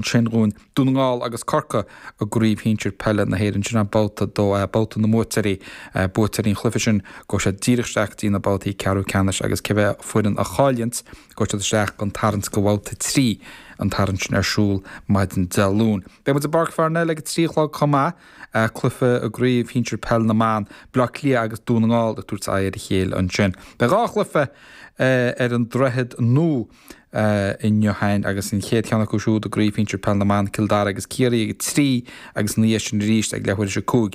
Ansin dhúinn Dún na nGall agus Corcaigh i gCraobh Shinsir Peile na hÉireann. Sin é babhta 2A, babhta na mbuaiteoirí. Buaiteoirí an chluiche sin, gabhfaidh siad díreach isteach go dtí na babhtaí ceathrú ceannais agus cibé foireann a chailleanns, gabhfaidh siad isteach don tarraingt do bhabhta 3, an tarraingt sin ar siúl maidin Dé Luain. Beidh muid i bPáirc Pharnell ag a 3 a chlog chomh maith, cluiche i gCraobh Shinsir Peile na mBan, Baile Átha Cliath agus Dún na nGall ag tabhairt aghaidh ar a chéile ansin. Beidh 2 chluiche ar an Droichead Nua. inniu féin agus an chéad cheann acu siúd i gCraobh Shinsir Peile na mBan, Cill Dara agus Ciarraí ag 3 agus ina dhiaidh sin arís ag leathuair théis 5,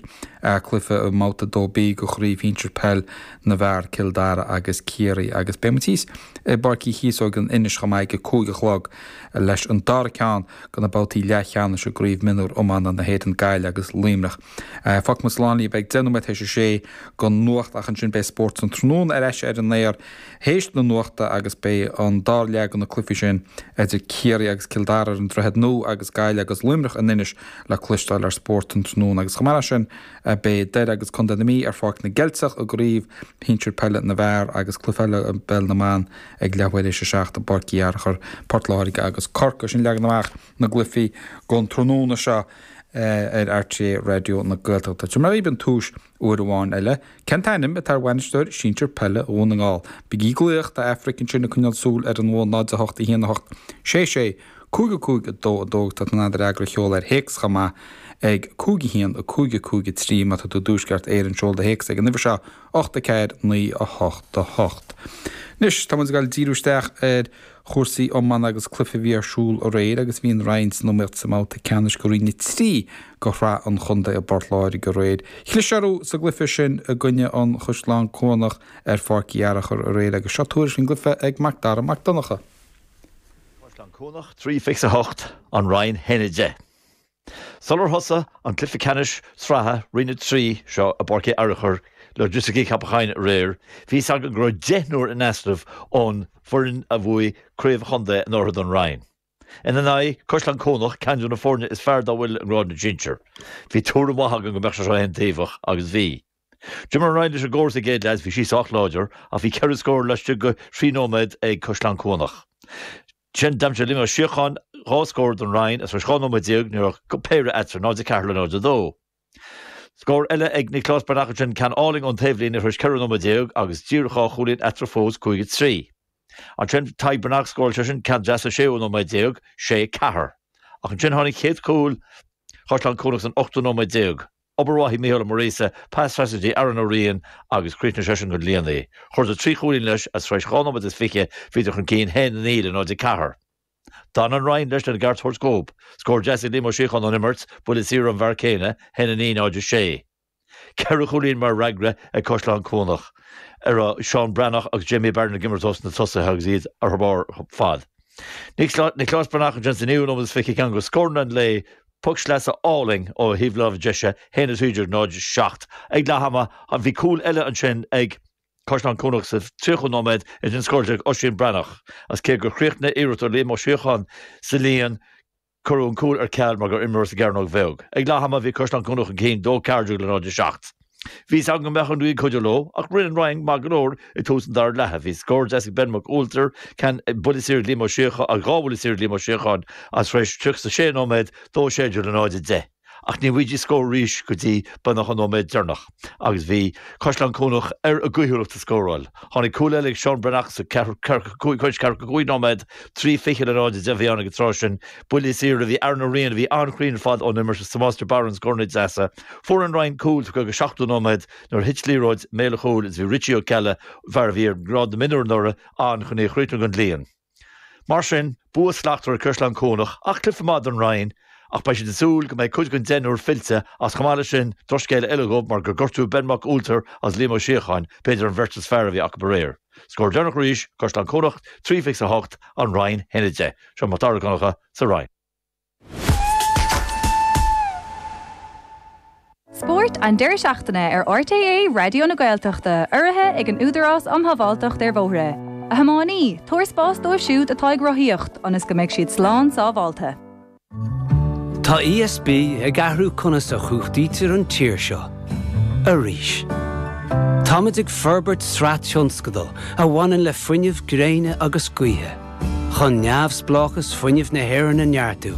cluiche i mBabhta 2B de Chraobh Shinsir Peil na bhFear, Cill Dara agus Ciarraí. Agus beidh muid thíos i bPáirc Uí Chíosóg in Inis chomh maith ag 5 a chlog leis an dara ceann de na babhtaí leathcheannais i gCraobh Mionúr Iomána na hÉireann, Gaillimh agus Luimneach. Fágfaidh muid slán libh ag 10 nóiméad théis a sé don nuacht ach ansin beidh Spórt an Tráthnóna ar ais ar an aer théis na nuachta agus beidh an dara leath de na cluichí sin idir Ciarraí agus Cill Dara ar an Droichead Nua agus Gaillimh agus Luimneach in Inis le cloisteáil ar Spórt an Tráthnóna agus chomh maith leis sin beidh Doire agus Contae na Mí ar Pháirc na gCeilteach i gCraobh Shinsir Peile na bhFear agus cluiche eile i bPeil na mBan ag leathuair théis a 7 i bPáirc Uí Fhearchair, Port Láirge agus Corcaigh. Sin leagan amach na gcluichí don tráthnóna seo ar RTÉ Raidió na Gaeltachta. Tabharfaidh mé dhaoibh an tomhas uair amháin eile. Cén t-ainm atá ar bhainisteoir sinsir peile Dhún na nGall? Bígí ag glaoch, tá Aifric ansin ag coinneáil súil ar an bhfón 0 8 1 8 6 6 5 5 2 2 Tá tú in ann do fhreagra a sheoladh ar théacs chomh maith ag 5 1 5 5 3 Má tá tú i dTuaisceart Éireann, seol do théacs ag an uimhir seo, 8 4 9 8 8. Anois, tá muid ag dul díriú isteach ar chúrsaí iomána agus cluiche a bhí ar siúl aréir agus bhí an Rinn san iomaíocht sa mbabhta ceannais de Roinn 3 de Shraith an Chontae i bPort Láirge aréir. Chlis orthu sa gcluiche sin i gcoinne an Chaisleáin Cuanach ar Pháirc Uí Fhearchair aréir agus seo tuairisc ón gcluiche ag Mac Dara Mac Donncha. Caisleán Cuanach 3 28, An Rinn 1 10. Sular thosaigh an cluiche ceannais sraithe Roinn 3 seo i bPáirc Uí Fhearchair, Logistics Cheapacháin aréir, bhí fhios againn go raibh deichniúr in easnamh ón bhfoireann a bhuaigh craobh an chontae anuraidh don Rinn. Ina n-aghaidh, Caisleán Cuanach, ceann de na foirne is fearr dá bhfuil i ngrád na sinsear. Bhí tuairim mhaith againn go mbeadh sé seo aontaobhach, agus bhí. D'imir an Rinn leis an gcóras sa gcéad leath is bhí sí sách láidir, ach bhí ceithre scór laistigh de thrí nóiméad ag Caisleán Cuanach. Ansin d'aimsigh Liam Ó Síocháin 2 scór don Rinn agus tar éis 12 nóiméad ní raibh ach péire eatarthu, 0-4 le 0-2. Scór eile ag Nioclás Breathnach ansin, ceann álainn ón taobhlíne tar éis 14 nóiméad agus díreach 2 chúilín eatarthu fós, 5-3. Ansin Tadhg Breathnach, scóráil seisean ceann deas sa séú nóiméad déag, 6-4. Ach ansin tháinig chéad chúl Chaisleán Cuanach san ochtú nóiméad déag. Obair mhaith ag Mícheál Ó Muiríosa, pas trasna go dtí Aaron Ó Riain agus chríochnaigh seisean don líon í. Chuireadar 3 chúilín leis agus tar éis 2 nóiméad is fiche bhíodar chun cinn 1-9 le 0-4. D'fhan an Rinn leis lena gceart a thabhairt dhóibh. Scór deas ag Liam Ó Síocháin ón imirt, buille saor ón bhfear céanna, 1-9 0-6. Ceithre chúilín mar fhreagra ag Caisleán Cuanach, a raibh Seán Breathnach agus Jamie Barron ag imirt ós na tosaithe agus iad ar barr ar fad. Nioclás Breathnach ansin sa naoú nóiméad is fiche ceann de scóranna an lae, Poc sleasa álainn ó thaobh láimhe deise, 1 13 0 7. Ag leath ama, bhí cúl eile ansin ag Caisleán Cuanach sa 30ú nóiméad, ansin scóráilte ag Oisín Breathnach. Agus cé gur chríochnaigh iarracht ó Liam Ó Síocháin sa líon, cuireadh an cúl ar ceal mar gur imreoir sa gcearnóg bheag. Ag leath ama, bhí Caisleán Cuanach chun cinn, 2 14 le 0 7. Bhí fhios againn go mbeadh an ghaoth ag cuidiú leo, ach rinne an Rinn maith go leor i dtús an dara leatha. Bhí scór deas ag Ben Mac Ualtair, ceann buille saor ag Liam Ó Síocháin, agus dhá bhuille saor ag Liam Ó Síocháin, agus tar éis 36 nóiméad, 2 16 le 0 10. Ach ní bhfaighidís scór arís go dtí beagnach an nóiméad deireanach, agus bhí Caisleán Cuanach ar a gcaoithiúlacht ag scóráil. Tháinig cúl eile ag Seán Breathnach sa ceathracha cúig nóiméad, 3 20 le 0 10 a bhí ann ag an tráth sin. Buille saor a bhí Aaron Ó Riain, a bhí an-chruinn ar fad ón imirt, agus Tomás de Barra an scóranna deasa. Fuair an Rinn cúl tugtha go 70 nóiméad nuair a thit liathróid i mbéal an chúil agus bhí Richie Ó Ceallaigh, fear a bhí ar ghrád na mionúr anuraidh, ann chun í a chríochnú don líon. Mar sin, bua slachtmhar ag Caisleán Cuanach ach cluiche maith don Rinn ach beidh siad ag súil go mbeidh cuid den deichniúr fillte agus chomh maith leis sin drochscéala eile dhóibh mar gur gortaíodh Ben Mac Ualtair agus Liam Ó Síocháin, b'fhéidir an bheirt is fearr a bhí acu aréir. Scór deireanach arís, Caisleán Cuanach 3 28, An Rinn 1 10. Seo Mac Dara Mac Donncha sa Rinn. Spórt an deireadh seachtaine ar RTÉ Raidió na Gaeltachta, urraithe ag an Údarás um Shábháilteacht ar Bhóithre. A thiománaí, tabhair spás dóibh siúd atá ag rothaíocht ionas go mbeidh siad slán sábháilte. Tá ESB ag athrú conas a chumhachtaítear an tír seo. Arís. Táimid ag forbairt sraith tionscadal a bhaineann le fuinneamh gréine agus gaoithe, chun neamhspleáchas fuinnimh na hÉireann a neartú.